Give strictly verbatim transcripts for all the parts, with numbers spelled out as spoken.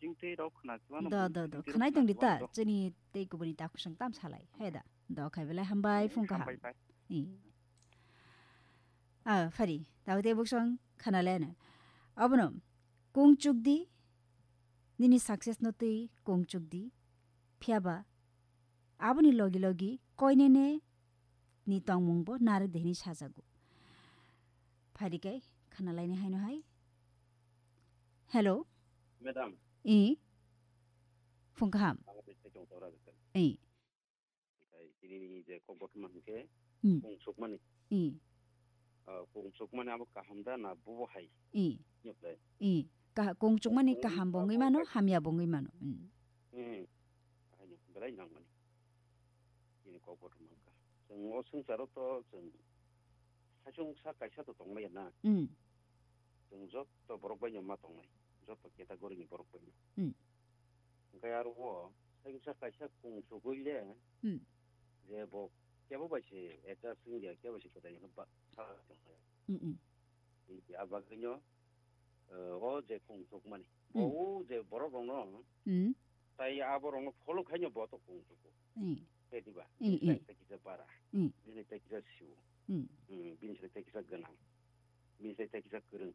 Sing tei rok khna chuano Do, bui do, do. sing tei rok Khanai khna tong di chuano ta, do. Chini tei kubuni ta kusung tam salai. Hai da. Do khai belai hambai, hmm, phung kaham. Hambai pai. I. Ah, phari. Tao tei buksong khana le na. Abono kung chuk di. Nini success no tei kung chuk di. Phiya ba. Aboni logi logi koinene ni tongmung bo narwk de hini sajago. Phari kai khana laini haino hai. Hello. Madam. I. Phung kaham. Ang bai se chong tora jikal. I. Kai tini ni je kok kothoma hingke Hmm. kung sukmani. I. Ah, kung sukmani abo kaham da na bubo hai. I. Nyok dai. I. Ka-, kung sukmani Kung kaham bo wngwi mano, sukmani hamya bo wngwi mano. Hmm. Hmm. Ahai no, belai nangmani. Chini kok kothoma hingka. Chwng o swngcharo to chwng saichung sa kaisa to tongmaya na. Hmm. Chwng joto borok bai no ma tongnai. Joto category ni borok bai no. Hmm. Hingke aro o, sai kisa kaisa kung sugui le, Hmm. je bo kebo bai se adjust wngya, kebo se kwtai hwnba sa tongkha. Hmm, hmm. Hingke a bagwino, eh, o je kung sukmani. Bo Hmm. o je borok rokno, Hmm. tai abo rokno follow khaino bo to kung sugo. Hmm. Khe diba? Hmm, Bini hmm. Sai kisa bara. Hmm. Bini sai kisa siu. Hmm. Hmm, bini sai kisa gwnang. Bini sai kisa kwrwng.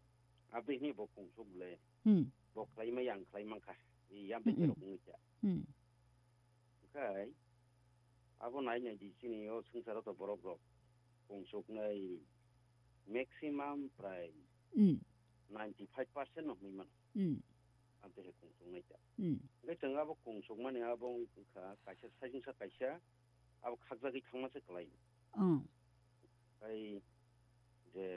Aboni hwnwi bo kung suk le. Hmm. Bo khlai maya ang khlai mankha. Yam bai Hmm, hmm. Rok wngwi kha. Hmm. Khai, abo nai nai di chini o swngcharo to borok rok kung suknai maximum prai Hmm. ninety five percent no hwnwi mano. Hmm. Amtwi hai kung suknai ta. Hmm. Hingke chwng abo kung sukmani abo wngkha kaisa saichung sa kaisa abo khakjagwi thangma se kwlai. Hmm. Khai je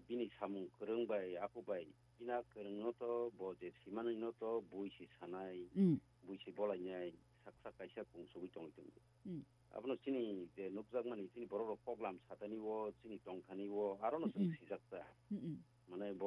bini samung kwrwng bai, apo bai, bini kwrwng no to, bo je simani no to, bui si sanai, Mm. Bui si bolainai, saksa kaisa kung sugui tongwi tongo. Mm. Abono chini je nukjakmani, chini borok rok koklam satani o, chini tongthani o, aro no chwng Mm-mm. Sijak ta. Mm-mm. Mane bo